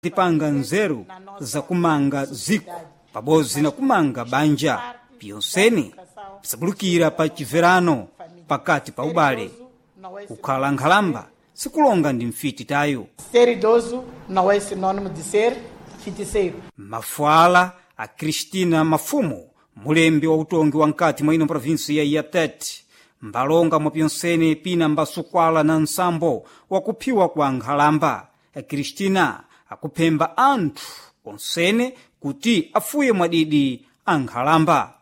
Tipanga nzeru zakumanga ziko pabodzi na kumanga banja pyonsene pisabulukira pa chibverano pakati pa ubale. Kukhala nkhalamba sikulonga ndi mfiti tayo. Ser idoso não é sinônimo de ser feiticeiro. Mafuala a Cristina Mafumo, mulembi wa utongi wa nkati mwa ino provinsia ya Tete, mbalonga mwa pyonsene pina mbasukwala na nsambo wakuphiwa kwa nkhalamba. Cristina akuphemba anthu onsene kuti afuye mwadidi a nkhalamba.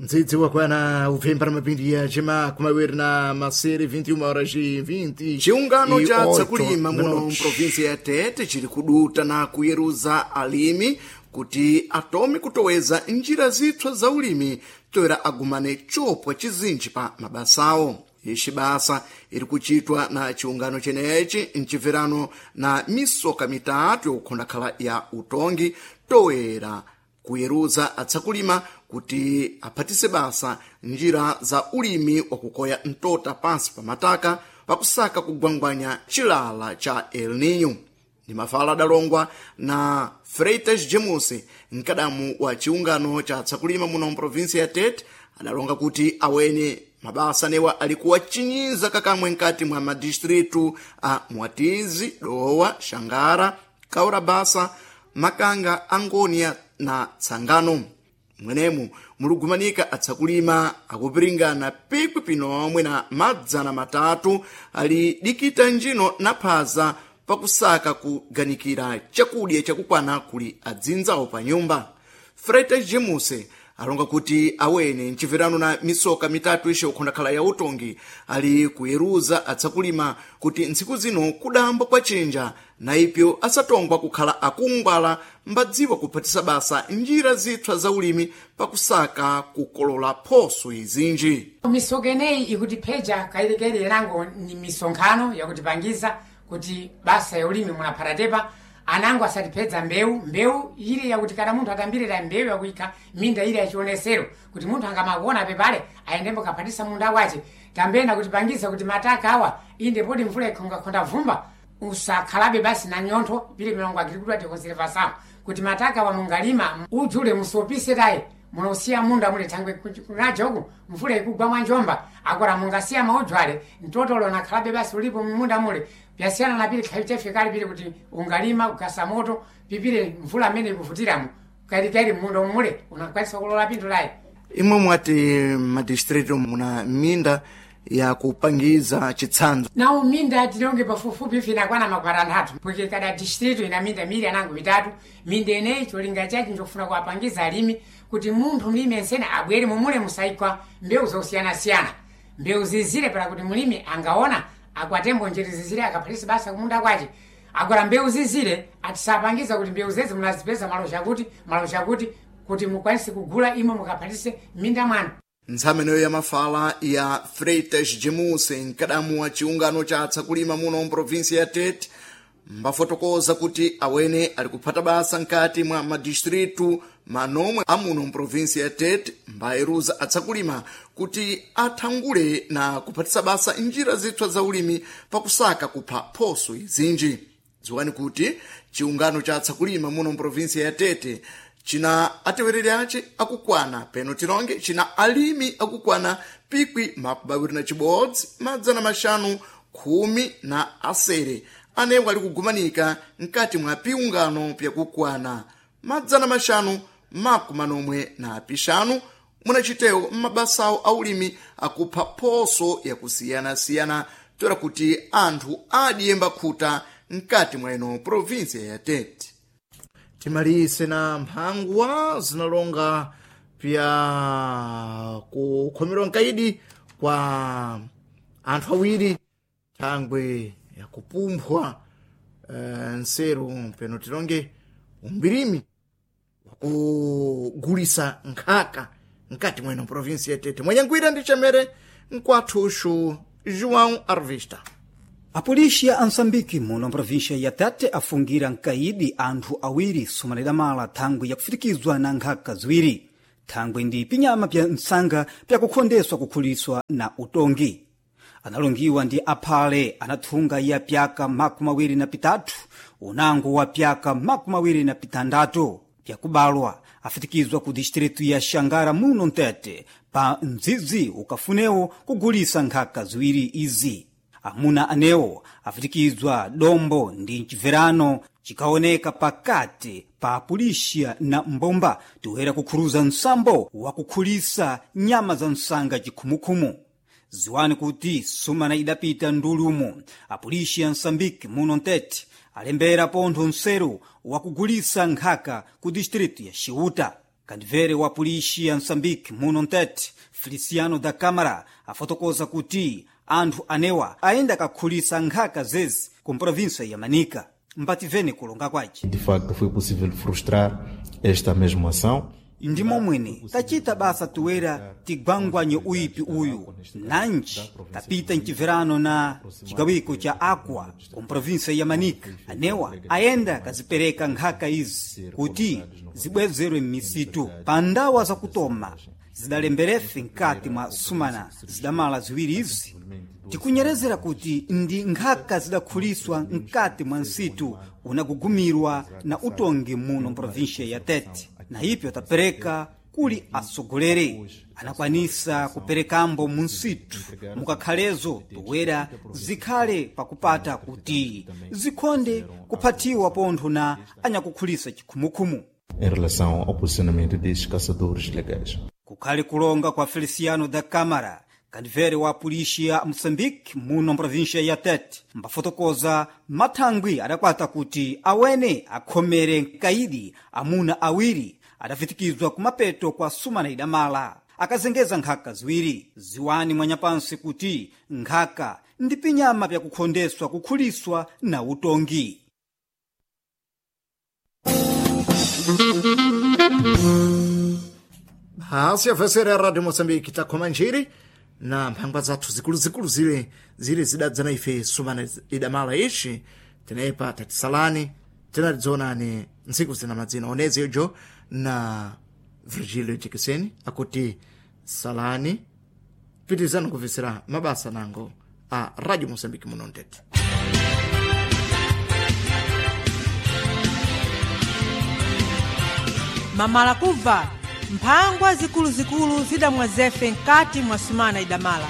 Mdzidzi wakwana upfemba na mapindi ya chema kumawiri na masere 21 horas e 20 Chiungano e cha oito tsakulima muno minutos. mprovinsi ya Tete chili kuduta na kuyeruza alimi kuti atome kutoweza njira zitswa za ulimi toera agumane chopwa chizinji pa mabasawo. Ixi basa iri kuchitwa na chiungano chenechi mchibverano na misoka mitatu yokukhondakhala ya utongi toera kuyeruza atsakulima kuti aphatise basa njira za ulimi wakukoya mtota pansi pa mataka pakusaka kugwangwanya chilala cha El Nino. Ndi mafala adalongwa na Freitas James, mkadamu wa chiungano cha atsakulima muno mprovinsi ya Tete, adalonga kuti awene mabasa newa alikuwa chinyiza kakamwe nkati mwa madistritu a Mwatizi, Dowa, Shangara, Kaurabasa, Makanga, Angonia na Tsangano. Mwenemu muligumanika atsakulima akupiringana pikwi pinomwe na madzana matatu ali dikita njino na phaza pakusaka kuganikira chakudya chakukwana kuli adzinzawo pa nyumba. Freitas James alonga kuti awene mchibverano na misoka mitatu ixe ukhondakhala ya utongi ali kuyeruza atsakulima kuti ntsiku zino kudambo kwa chinja na ipyo asatongwa kukhala akungwala mbadziwa kuphatisa basa njira zitswa za ulimi pakusaka kukolola phoso izinji. Misoka ineyi ikutipheja kailekele yanango ni misonkhano yakutipangiza kuti basa ya ulimi munaphatatepa anango asatipedza mbewu mbewu ili yakuti kana munthu atambirira mbewu yakuyikha minda ili yachionesero kuti munthu angamakuona pepale ayendembo kaphatisa munda wace. Tambena kutipangiza kuti mataka awa inde poti mvula ikhongakhonda vumba usakhalabe basi na nyontho pili milongo agricultura de conservação kuti mataka wa mungalima udzule musopise tayi munosiya munda muli thangwe kunajoku mvula ikugwa mwanjomba akora mungasiya maudzu mtotolo nakhalabe basi ulipo munda mule pyasiyana na pili khayi chafikali pili kuti ungalima kugasa moto pipile mvula amene ikuvutiramo kalikali munda mule unakwanisa kulola pinthu layi. Imwe mwati madistritu muna minda yakupangiza chitsanzo. Nawo minda tilonge pafupifupi ife inakwana makwara anthatu porque kada distrito ina minda mili anango mitatu. Minda ineyi cholinga chache njofuna kuwapangiza alimi kuti munthu mlimi ensene abwere mumule musayikwa mbewu zosiyanasiyana, mbewu zizire para kuti mlimi angaona akwatembo njere zizire akaphalisa basa kumunda kwace. Agora mbewu zizire atisapangiza kuti mbewu zezi munazipeza malo chakuti malo chakuti kuti mukwanise kugula imwe mukaphalise minda mwanu. Ntsameneyo ya mafala ya Freitas James, mkadamu wa chiungano cha atsakulima muno mprovinsi ya Tete, mbafotokoza kuti awene ali kuphata basa nkati mwa madistritu manomwe amuno mprovinsi ya Tete mbayeruza atsakulima kuti athangule na kuphatisa basa njira zitswa za ulimi pakusaka kupha phoso izinji. Dziwani kuti chiungano cha atsakulima muno mprovinsi ya Tete china atewereri ace akukwana peno tilonge china alimi akukwana pikwi makumi na chibodzi madzana maxanu khumi na asere anewo ali kugumanika mkati mwa piungano pyakukwana madzana maxanu makumi manomwe na pixanu munachitewo m'mabasawo aulimi akupha phoso yakusiyanasiyana toera kuti anthu adiyemba khuta mkati mwa ino provinsia ya Tete. Timalise na mphangwa zinalonga pya kukhomerwa nkaidi kwa anthu awiri thangwe yakupunphwa nseru peno tilonge umbirimi wakugulisa nkhaka mkati mweno provinsi ya Tete. Mwenyangwira ndi chemere mkwathuxu João Arvista. Apolisi ya Ançambique muno mprovinsia ya Tete afungira nkaidi anthu awiri sumanidamala thangwi yakufitikizwa na nkhaka ziwiri. Thangwe ndi pinyama pya msanga pyakukhondeswa kukhuliswa na utongi. Analongiwa ndi aphale anathunga ya pyaka 23 unango wa pyaka 26 pyakubalwa afitikizwa ku distritu ya Xangara muno Mtete pa mdzidzi ukafunewo kugulisa nkhaka ziwiri izi. Amuna anewo afitikizwa dombo ndi mchibverano chikaoneka pakati pa pulixiya na mbomba toera kukhuruza nsambo wakukhulisa nyama za msanga chikhumukhumu. Ziwani kuti sumana idapita ndulumu apulixiya ya Msambiki muno Mtete alembera pontho nseru wakugulisa nkhaka ku distritu ya Xiuta. Kandivere wa pulixiya ya Msambiki muno Mtete Feliciano da Câmara afotokoza kuti anthu anewa ayenda kakhulisa nkhaka zezi ku província ya Manica. Mbativene kulonga kwace. De facto, foi possível frustrar esta mesma ação. Ndi momwene tachita basa toera tigwangwanye uyipi uyu nanji tapita mchibverano na chigawiko cha Aqua ku província ya Manica. Anewa ayenda kazipereka nkhaka izi kuti zibwezerwe m'misitu pa ndawa zakutoma zidalemberefe mkati mwa sumana zidamala ziwiri izi. Tikunyerezera kuti ndi nkhaka zidakhuliswa mkati mwa nsitu unagugumirwa na utongi muno mprovíncia ya Tete, na ipyo tapereka kuli atsogoleri anakwanisa kuperekambo mu nsitu mukakhalezo toera zikhale pakupata kuti zikhonde kuphathiwa pontho na anyakukhulisa chikhumukhumu. Em relação ao posicionamento destes caçadores ilegais. Kukhale kulonga kwa Feliciano da Câmara, kandivere wa pulixiya ya Moçambique muno mprovíncia ya Tete, mbafotokoza mathangwi adakwata kuti awene akhomere mkaidi amuna awiri adafitikizwa kumapeto kwa sumana idamala akazengeza nkhaka ziwiri. Ziwani mwanyapansi kuti nkhaka ndi pinyama pyakukhondeswa kukhuliswa na utongi. Basi yafesera ya Radio Moçambique takhoma njiri na mphangwa zathu zikuluzikulu zile zili zidadzana ife sumana idamala ici tinepa tatisalani tinatidzonani ntsiku zina madzina onezi yojo na Virgilio Jekeseni akuti salani pitizani kumvetsera mabasa nango a Radio Moçambique muno Mtete. Mamala kubva mphangwa zikuluzikulu zidamwa zefe mkati mwa sumana idamala.